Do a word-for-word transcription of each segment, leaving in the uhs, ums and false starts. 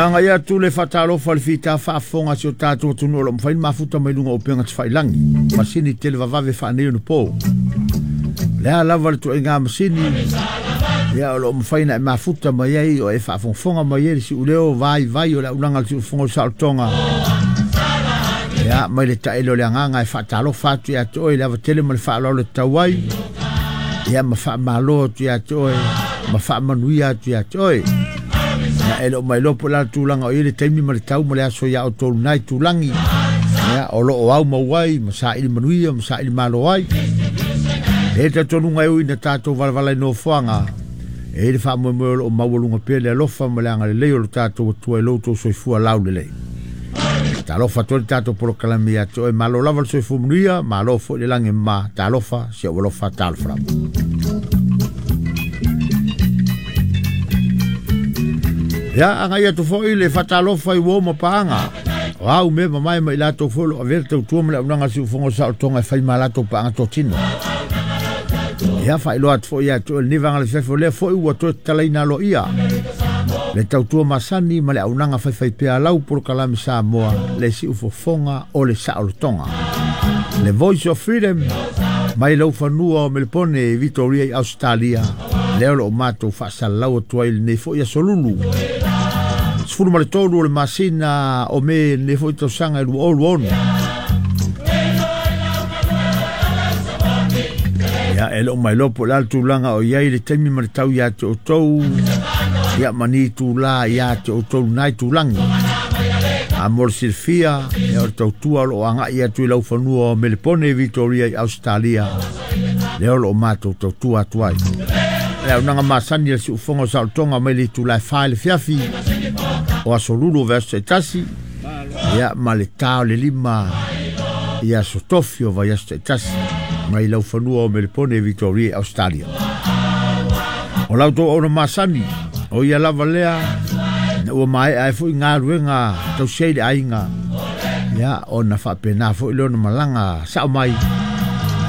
Anga ia tu le fatalofa le fita faafofoga si o tatou atunuu o lo o mafai ona mafuta mai luga o upega tafailagi. Masini tele vavave faanei ona po. Le a lava le tuaiga masini ia o lo o mafai ona e mafuta mai ai o e faafogafoga mai ai le siuleo vaivai o le aulaga o le siufofoga o le saolotoga. Ia mai le taele o le agaga e faatalofa atu ia te oe le avatele ma le faaaloalo e tatau ai. Ia ma faamalo atu ia te oe ma faamanuia atu ia te oe. Ia e le o mailoa po o le a le tulaga o i ai le taimi ma le tau ma le aso ia outou lena i tulagi. Ia o lo o au mau ai ma saili manuia ma saili malo ai. E talitonuga e ui ina tatou valavala i nofoaga. E i le faamoemoe o lo o maualuga pea le alofa ma le agalelei o lo tatou Atua i lo outou soifua laulelei. Talofa atu ai le tatou polokalame ia te oe, malo lava le soifua manuia, malo foi le lagi e mama, talofa, si ou alofa, talofa lava. Ia, agai atu foi le faatalofa i uo ma paaga. O au mea mamae ma i latou foi o lo o avea le tautua ma le auaunaga a le siufofoga o le saolotoga e fai ma latou paaga totino. Ia, faailoa atu foi ia te oe lenei vaega o le afiafi o lea foi ua toe tatalaina aloaia le tautua masani ma le auaunaga faifaipea a lau polokalame Samoa le siufofoga o le saolotoga. Le Voice of Freedom mai laufanua o Melepone i Victoria i Ausetalia, lea o lo o matou faasalalau atu ai lenei foi aso lulu. Sefulu ma le tolu o le masina o Me lenei foi tausaga e lua o lua ono. Ia, e le o mailoa po o le a le tulaga o i ai le taimi ma le tau ia te outou, ia ma ni itulā ia te outou lena itulagi. A mo le silafia, ia o le tautua o lo o agai atu i laufanua o Melepone i Victoria i Ausetalia, lea o lo o matou tautua atu ai. Le auaunaga masani a le siufofoga o saolotoga mai le itula e fa i le fiafi o aso lulu o vaiaso taitasi, ia ma le ta o le lima i aso tofi o vaiaso taitasi mai laufanua o Melepone i Victoria i Ausetalia. O la outou auauna masani, o ia lava lea, ina ua maea ai foi galuega tausi ai le aiga, ia ona faapena foi lea ona malaga sao mai,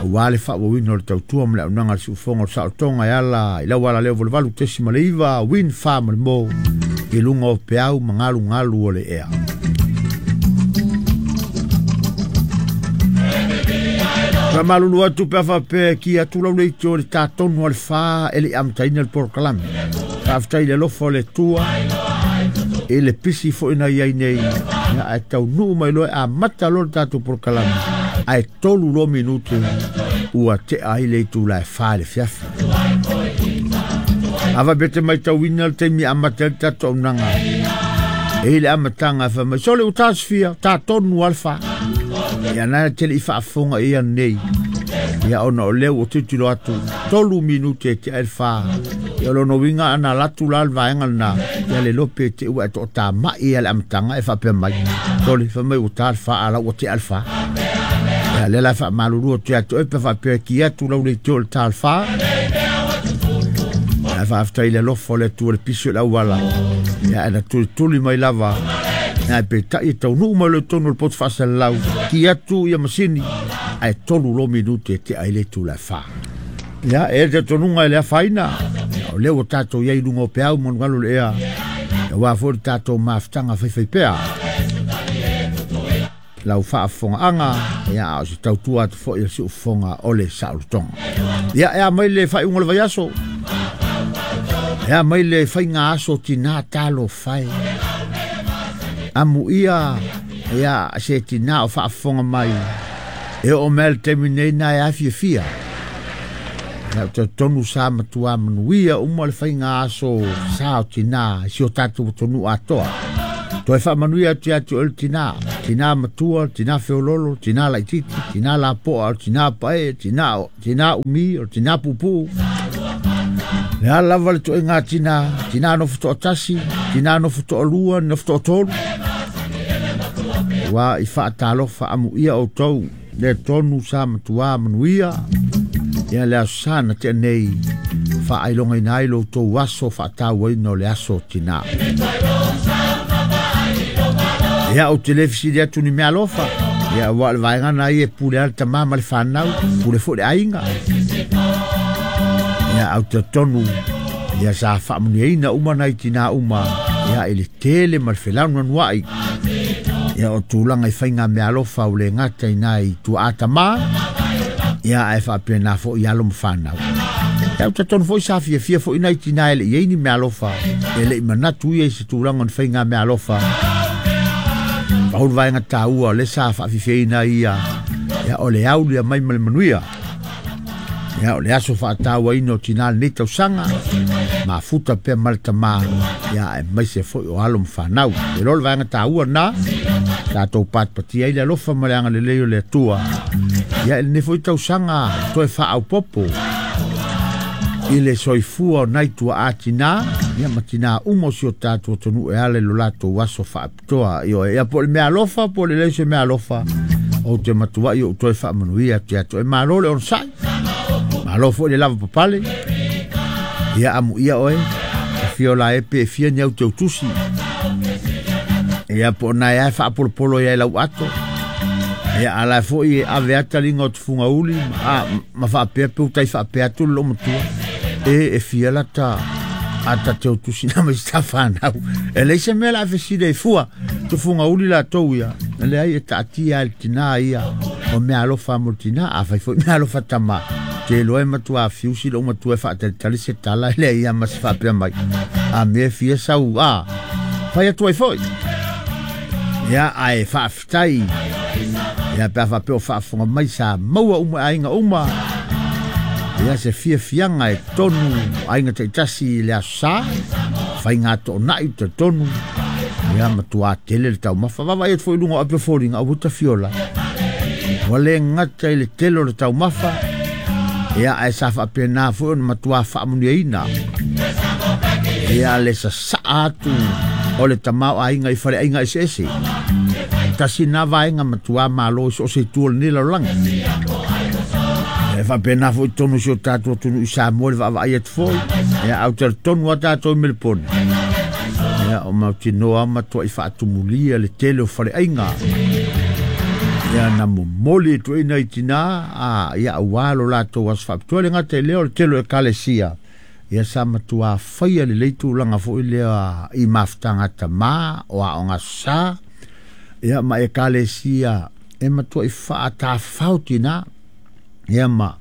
aua le faaauauina o le tautua ma le auaunaga a le siufofoga o le saolotoga e ala i lau alaleo valuvalu tesi ma le iva, win fa ma le mo, i luga o peau ma galugalu o le ea. Faamalulu atu pe a faapea e ki atu lau leitio i le tatonu a le fa e le i amataina le polokalame. Faafetai i le alofa o le Atua i le pisi foi na i ai nei, ia ae taunuu mai loa e amata loa le tatou polokalame, ae tolu loa minute ua tea ai le itula e fa i le fiafi. A faapea te matauina le taimi e amata ai le tatou auaunaga, e i le amataga e fai mai, sole ua tasofia, tatonu a le fa. Ia na te le i faafofoga i ia nei. Ia ona o lea ua tilotilo atu, tolu minute e tea ai le fa. Ia o lona uiga ana alu atu la le vaega lena, ia le iloa pe te ua e toatamai ia le amataga e faapea mai. Sole, fai mai ua ta le fa, a la ua tea le fa. Ia lea la e faamalulu atu ia te oe pe faapea e ki atu lau leitio i le ta o le fa. Ia faafetai i le alofa o le Atua i le pisi o le auala. Ia ae na tulituli mai lava. Ia peitai e taunuu mai loa i totonu o le poto faasalalau, ki atu ia masini, ae tolu loa minute e tea ai le itula e fa. Ia, e le talitonuga e le afaina, o lea ua tatou i ai i luga o peau ma galugalu o le ea, aua foi le tatou mafutaga faifaipea. Lau faafofogaaga, ia, a o se tautua atu foi a le siufofoga o le saolotoga. Ia, e a mai le faaiuga o le vaiaso, e a mai le faiga aso tinā talofa e. Amuia, ia, se tinā o faafofoga mai, e oo mai le taimi nei na e afiafia. Ia, o talitonu sa matua manuia uma le faiga aso sa o tinā i si o tatou atunuu atoa. Toe faamanuia atu ia te oe le tinā, tinā matua, tinā feololo, tinā laititi, tinā lapoa, o le tinā pae, tinā, tinā umi, o le tinā puupuu. Le a lava le toaiga tinā, tinā nofo toatasi, tinā nofo toalua, nofo toatolu. Ua i faatalofa amuia outou, le tonu sa matua manuia, ia le aso sa na tea nei, faailogaina ai lo outou aso faatauaina o le aso tinā. Ia ou te le fesili atu ni mea alofa, ia ua o le vaega na ia e pule ai le tamā ma le whanau, pule foi le aiga. Ia au te tonu, ia sa faamanuiaina uma nai tinā uma, Ia i le tele ma le felaunuanuai ia o tulaga i faiga meaalofa ua le gata i nai tuaa tamā ia ae faapena foʻi alo ma fanau. Ia ou tatonu foʻi sa fiafia foʻi nai tinā e leʻi ai ni meaalofa e leʻi manatu ia i se tulaga o ni faiga meaalofa. Pau le vaega taua o le sa faafiafiaina ia ia o le aulia mai ma le manuia. Ia o le aso faatauaina o tinā lenei tausaga mafuta pea ma le tamā ia aemaise foʻi o alo ma fanau. E lo le vaega taua na tatou patipatia ai le alofa ma le agalelei o le Atua ia i lenei foʻi tausaga toe faaaupopo i le soifua o nai tuaa tinā ia ma tinā uma o si o tatou atunuu e ala i lo latou aso faapitoa. Ioe ia po o le meaalofa po o le leai se meaalofa ou te matuai ou toe faamanuia atu ia te oe. Malo le onosai, malo foʻi le lava papale ia amuia oe afio la e pe fia ni au te utusi ia po o nae ae faapolopolo ia i lau ato ia ala foʻi e ave ata liga o tufugauli a ma faapea pe utai faapea atu le loo matua e e fia lata ata te utusi na mai sa fanau e leai se mea la fesili ai fua tufugauli latou ia leai e taatia ai le tinā ia o meaalofa mo le tinā afai foʻi meaalofa tamā te iloa e matua fiusi lou matua e faatalitali se tala e leai ia ma se faapea mai a mea fia sau a fai atu ai foʻi ia ae faafetai ia pe a faapea o faafofoga mai sa maua uma e aiga uma ia se fiafiaga e tonu aiga taitasi i le aso sa faiga toonai talitonu ia matuā tele le taumafa. Vaavaai atu foi i luga o ape o foliga aua tafiola ua le gata i le tele o le taumafa ia ae sa faapena foi ona matuā faamanuiaina ia le sasaa atu o le tamaoaiga i faleaiga eseese. Tasi na vaega matuā malo i so o se itu o lenei lalolagi. E faapena foʻi tonu si o tatou atunuu i Samoa le vaavaai atu foi ia au talitonu a tatou i Melepone ia o mautinoa matuai faatumulia le tele o faleaiga ia na momoli e tuuina i tinā a ia auā lo latou aso faapitoa. Le gata i lea o le tele o ekalesia ia sa matuā faia lelei tulaga foʻi lea i mafutaga tamā o aoga sa ia ma ekalesia e matuai faatafafao tinā ia ma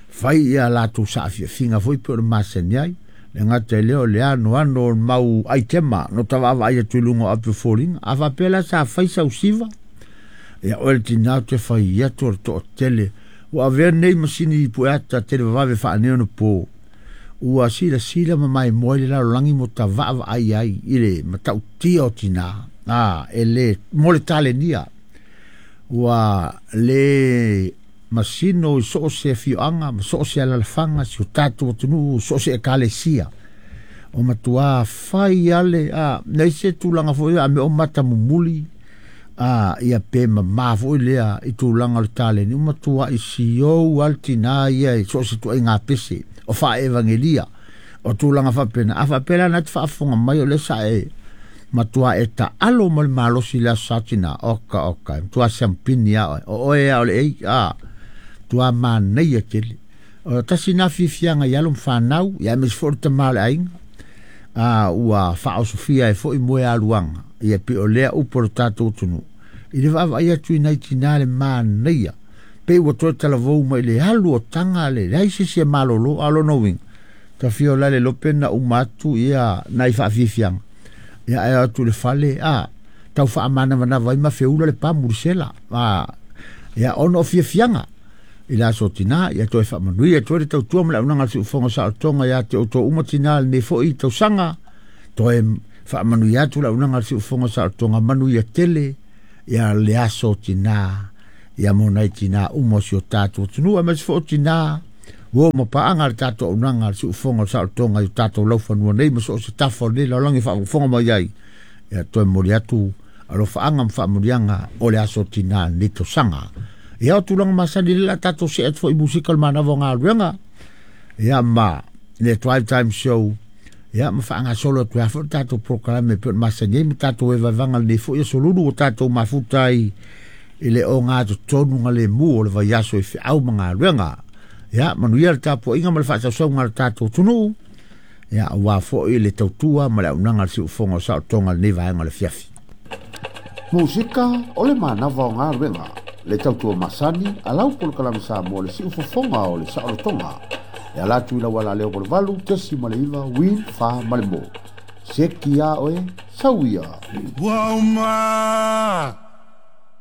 fai ia latou saafiafiga foi pe o le masani ai. Le gata i lea o le anoano o le mau aitema no tavaavaai atu i luga o ape o foliga a faapea la sa fai sausiva ia oe le tinā o te fai atu o le toatele ua avea nei masini pueata tele vavave faaneonapo ua silasila ma maimoa i le lalolagi mo tavaavaai ai i le matautia o tinā a e le mo le talenia ua le masino i so o se afioaga ma so o se alalafaga si o tatou atunuu so o se ekalesia o matuā fai ale a nei se tulaga foʻi a me o mata mumuli a ia pe mamā foʻi lea i tulaga o le taleni ua matuai siou a le tinā ia i so o se tuaiga pese o faaevagelia o tulaga faapena. A faapea la na te faafofoga mai o lea sa e matuā e taalo ma le malosi i le aso sa tinā oka oka e matuā siampini a oe o oe a o le ei a matuā manaia tele o tasi na fiafiaga i alo ma fanau ia aemaise foi o le tamā o le aiga a ua faaosofia ai foʻi moe aluaga ia pe o lea upu o le tatou atunuu i le vaavaai atu i nai tinā le manaia pe ua toe talavou mai le alu o taga le leai se isi e malolo a o lona uiga tafia o la le lope na uma atu ia nai faafiafiaga ia ae o atu i le fale a tau faamanavanava ai ma feula le pamu i le sela a ia ona o fiafiaga i le aso tinā ia toe faamanuia toe le tautua ma le auaunaga a le siufofoga o saolotoga ia te outou uma tinā lenei foʻi tausaga toe faamanuia atu le auaunaga a le siufofoga o saolotoga manuia tele ia le aso tinā ia mo nai tinā uma o si o tatou atunuu aemaise foi o tinā ua oo ma paaga le tatou auaunaga a le siufofoga o saolotoga i o tatou laufanua nei ma so o se tafa o lenei lalolagi e faafogafoga mai ai ia toe momoli atu alofaaga ma faamanuiaga o le aso tinā lenei tausaga. Ia o tulaga masani le la tatou see atu foi i musika o le manava o galuega ia ma le Drive Time Show ia ma faagasolo atu ai foi le tatou polokalame e pei ona masani ai ma tatou evaevaga lenei foi aso lulu ua tatou mafuta ai i le ogatotonu galemu o le vaiaso i feau ma galuega. Ia manuia le tapuaiga ma le faasausauga a le tatou atunuu. Ia auā foʻi le tautua ma le auaunaga a le siufofoga o saolotoga lenei vaega o le afiafi. Musika o le manava o galuega le tautua masani a lau polokalame Samoa le siufofoga o le saolotoga e ala atu i lau alaleo valuvalu tesi ma le iva win fa ma le mo. Seki a oe, sau ia. Ua uma